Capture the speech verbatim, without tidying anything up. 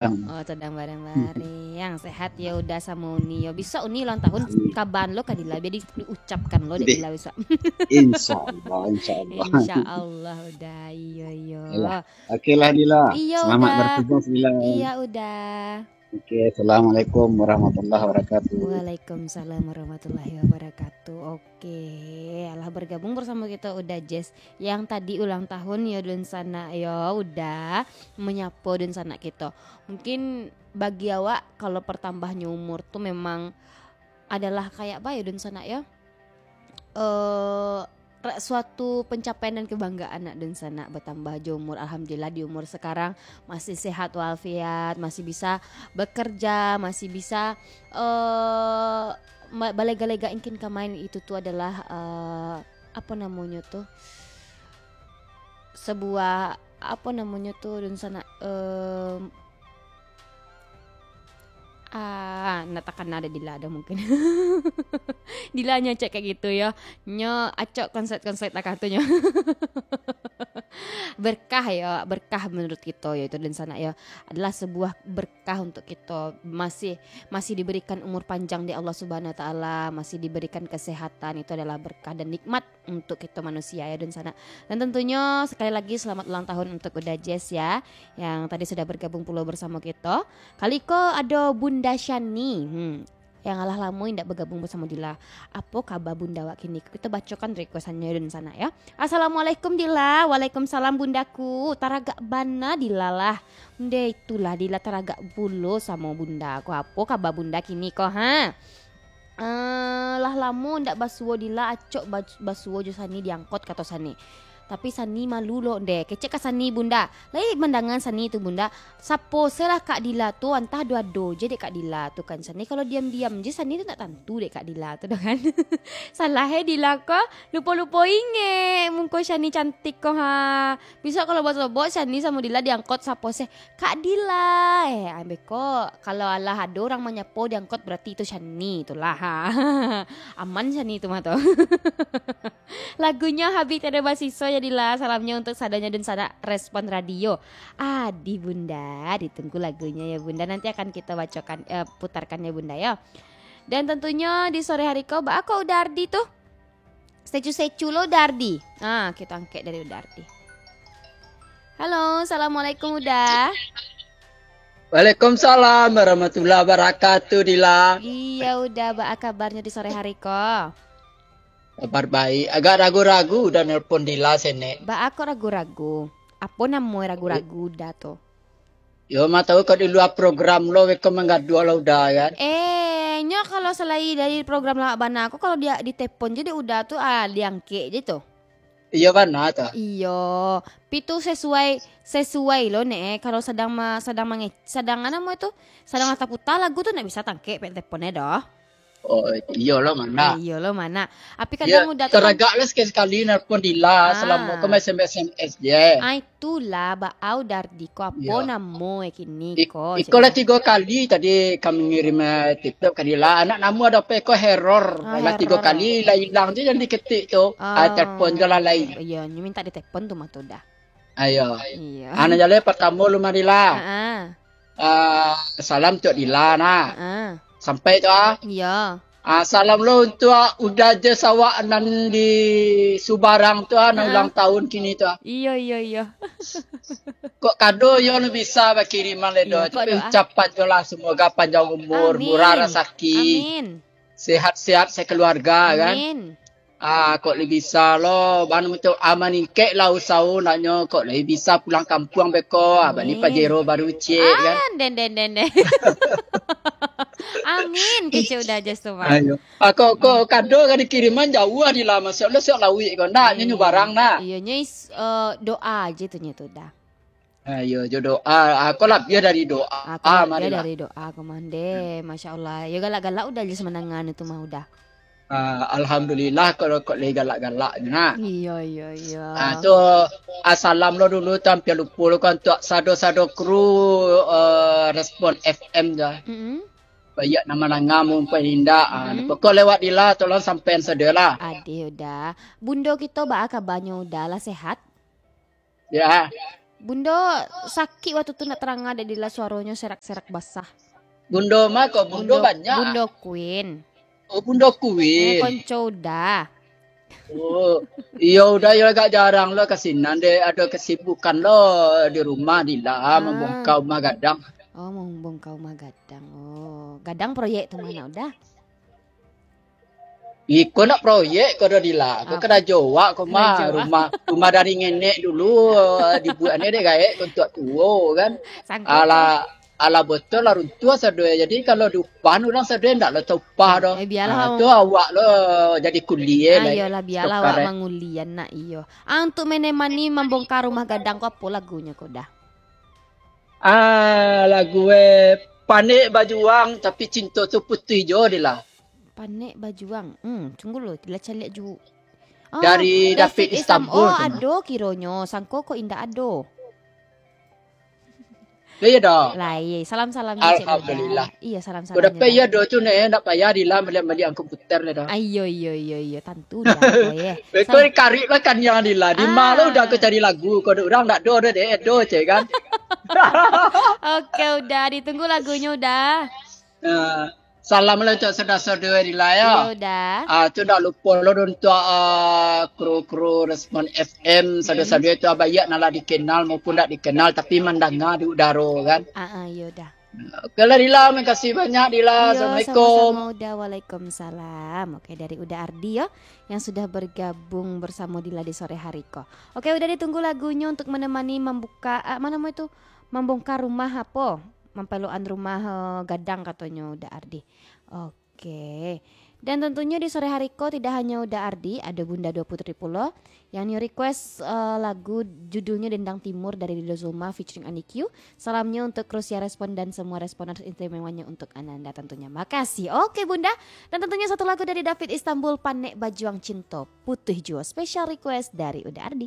Oh, sedang bareng-bareng. Sehat yo Uda samo Uni yo. Besok Uni ulang tahun, kabaan lo ka Dila, bia di-, diucapkan lo dek Dila besok. Insya Allah, insya Allah. Insya Allah, Uda. Iyo, iyo. Yalah. Oke lah, Dila. Iyo, Selamat Uda. bertugas, Dila. Iya, Uda. Oke, Assalamualaikum warahmatullahi wabarakatuh. Waalaikumsalam warahmatullahi wabarakatuh. Oke, alah bergabung bersama kita Uda Jess yang tadi ulang tahun yo, dunsanak yo, Uda, menyapo dunsanak kita. Mungkin bagi awak, kalau pertambahnyo umur tu memang adalah kayak apa yo, dunsanak yo? Eh, ra-, suatu pencapaian dan kebanggaan nak dunsanak, bertambah jo umur. Alhamdulillah, di umur sekarang masih sehat walafiat, masih bisa bekerja, masih bisa, eh, ma-, balega-lega ingkin ka main. Itu tu adalah, eh, apa namonyo tu? Sebuah, apa namonyo tu, dunsanak, eh, Ah, nak takana dek Dila dah mungkin. Dila nyo cek kayak gitu yo. Nyo acok konsep-konsep takah tu nyo. Berkah yo, berkah menurut kito yo itu, dunsanak yo. Adalah sebuah berkah untuk kito. Masih, masih diberikan umur panjang dek Allah Subhanahu Wa Taala, masih diberikan kesehatan, itu adalah berkah dan nikmat untuk kito manusia yo, dunsanak. Dan tentunyo sekali lagi selamat ulang tahun untuk Uda Jess ya, yang tadi sudah bergabung pulo bersamo kito. Kali ko ado Bunda Shani. Hmm. Yang alah lamo indak bergabung bersamo Dila. Apo kaba Bunda awak kini? Kito bacokan request-annyo, dunsanak yo. Assalamualaikum Dila. Waalaikumsalam Bundaku. Taragak bana Dila lah. Ndeh itulah Dila taragak pulo samo Bunda ko. Apo kaba Bunda kini ko, ha? Eh, lah lamo ndak basuo Dila, acok ba-, basuo jo Sani diangkot, kato Sani. Tapi Sani malu lo ndeh. Kecek ka Sani Bunda. Lai mandanga Sani tu Bunda. Sapo se lah Kak Dila tu, antah ado-ado je dek Kak Dila tu kan Sani. Kalau diam-diam je Sani tu ndak tantu dek Kak Dila tu doh kan. Salah eh Dila ko, lupo-lupo ingek. Muko Sani cantik ko ha. Bisa kalau basobok Sani samo Dila diangkot sapo se. Kak Dila, eh, ambek ko, kalau alah ado urang manyapo diangkot, berarti itu Shani tu lah, ha. Aman Shani tu mah tu. Lagunyo Habih Tiada Basiso ya, Dila. Salamnyo untuk sadonyo dunsanak Respon Radio. Adih Bunda, ditunggu lagunyo ya, Bunda. Nanti akan kito bacokan, eh, putarkan ya, Bunda, yo. Dan tentunyo di sore hari ko, baa ko Uda Ardi tu? Secu-secu lo Uda Ardi. Ah, kito angkek dari Uda Ardi. Halo, assalamualaikum Uda. Waalaikumsalam warahmatullahi wabarakatuh, Dila. Iya Uda, baa kabarnyo di sore hari ko? Kabar baik. Agak ragu-ragu Uda nelpon Dila senek. Baa ko ragu-ragu? Apo namo ragu-ragu Uda tu? Yo, ma tahu kok di lua program lo, beko manggaduah lah Uda, kan? Eh, nyo kalau salai dari program lawak bana ko, kalau dia ditepon je dek Uda tu, ah, diangkek je tu. Iyo, bana tu. Iyo. Pi tu sesuai, sesuai lo, Nek, eh. Kalau sadang ma-, sadang mange-, sadang, a namo tu? Sadang lah taputa lagu tu, ndak bisa tangkek pek tepon e doh. Oh, iyo lo, mana? Eh, iyo lo, mana? Api kadang Uda tu kan taragak lah sakali-sakali nelpon Dila, ah, salamo ko main S M S, S M S je. Ah, itulah, baa Uda Ardi ko, apo namo e kini ko, iko lah tigo kali tadi kami ngirim, eh, TikTok ka Dila. Anak namo ado apo ko error. Ah, lah tigo kali lah ilang je jan diketik tu. Ah, telpon je lah lai. Iyo, nyo minta ditepon tu mah tu Uda. Ayo. Iyo. Anak jaleh partamo lo mah Dila. Heeh. Ah, salam untuak Dila, nah. Ah. Sampai tu, ah. Iyo. Ah, salam lo untuak Uda Jess awak nan di Subarang tu, ah, nan ulang tahun kini tu, ah. Iyo, iyo, iyo. Kok kado yo lo bisa bakiriman le doh. Iyo, tapi kok doa. Ucapan jo lah, semoga panjang umur, amin, murah rasaki. Amin. Sehat-sehat sekeluarga, kan? Amin. Ah, kok lai bisa lo, bana muncul aman ingkek lah usaho naknyo, kok lai bisa pulang kampuang beko, ah, bani Amin. Pajero baru ciek, kan? Ah, den, den, den, den. Amin, kecek Uda Jess tu, Bang. Ayo. Ah, kok, kok kado ka dikiriman jauah di lah, Masya Allah, siok lawik ko. Ndak, nyo, nyo barang, nak. Iyo, nyo is-, eh, doa aja tu, nyo tu, dah. Ah, iyo, jo doa. Ah, ko labiah dari doa. Ah, ko labiah dari doa, ko mande. Hmm. Masya Allah. Yo, galak-galak Uda Jess mandanga tu mah Uda. Ah, alhamdulillah, kalau kok lai galak-galak nyo, nak. Iyo, iyo, iyo. Ah, tu, ah, salam lo dulu, tu ampia lupo lo, kan, untuak sado-sado kru, eh, Respon F M tu. Mm-mm. Baiak nan mandanga maupun indak. Ah, mm-mm. Pokok lewat Dila, tolong sampaian sadolah. Adih, Uda. Bundo kito baa kabanyo, Uda, lah sehat? Ya. Bundo sakik waktu tu nak taranga dek Dila suaronyo serak-serak basah. Bundo mah kok, Bundo, Bundo banyak. Bundo Queen. Oh, Bundo Queen. Eh, konco Uda. Oh, iyo Uda, iyo agak jarang lo ka sinan dek, ado kesibukan lo di rumah Dila, ah, mambongka rumah gadang. Oh, mambongka rumah gadang. Oh, gadang proyek tu mah nak Uda? Iko nak proyek ko do Dila. Ko karajo awak ko mah. Rumah, rumah dari nenek dulu, eh, dibuek ni dek gaek ko untuak tuo kan. Sangko. Alah, alah botol lah runtuah sadoe. Jadi kalau diupah urang sadoe ndak lo taupah doh. Eh, bialah. Ah, tu awak lo jadi kuli eh. Ah, iyolah, bialah awak mangulian nak iyo. Ah, untuk menemani mambongka rumah gadang ko apo lagunyo ko Da? Ah, lagu eh Panek Bajuang tapi cinto tu putuih jo Dila. Panek Bajuang. Hmm, tunggu lo, Dila caliak ju. Oh, dari David, David Istanbul. Oh, ado kironyo. Sangko ko indak ado. Lah iya dah. Lah iya, salam-salam Alhamdulillah. Iya, salam-salam. Udah payah do tu nek, ndak payah Dila maliak-maliak komputer dah. Ayo, iyo, iyo, iyo, tantu dah. Beko karip lah kan yang Dila. Di ma lo Uda ko cari lagu, ko urang ndak do dah dek, do cek kan. Oke, Uda, ditunggu lagunyo Uda. Nah, Salam lah untuak saudara-saudara di lah yo. Iyo Da. Ah, tu ndak lupo lo untuak ah, kru-kru Respon F M, saudara-saudara tu abaiak nan lah dikenal maupun ndak dikenal tapi mandanga di udaro kan. Ah, ah iyo Da. Oke lah Dila, makasih banyak Dila. Iyo, Assalamualaikum. Sama-sama Uda, waalaikumsalam. Oke, dari Uda Ardi yo yang sudah bergabung bersama Dila di sore hari ko. Oke, Uda ditunggu lagunyo untuk menemani membuka ah, mana mau itu membongkar rumah apo? Mampelokan rumah eh, gadang katonyo Uda Ardi. Oke. Dan tentunyo di sore hari ko tidak hanya Uda Ardi, ada Bunda Dua Putri pulo yang nio request eh, lagu judulnya Dendang Timur dari Rido Zulma featuring Ani Q. Salamnya untuk kru siar Respon dan semua respon atas istimewanya untuk Ananda tentunya. Makasih. Oke Bunda. Dan tentunya satu lagu dari David Istanbul, Panek Bajuang Cinto Putuih Juo. Special request dari Uda Ardi.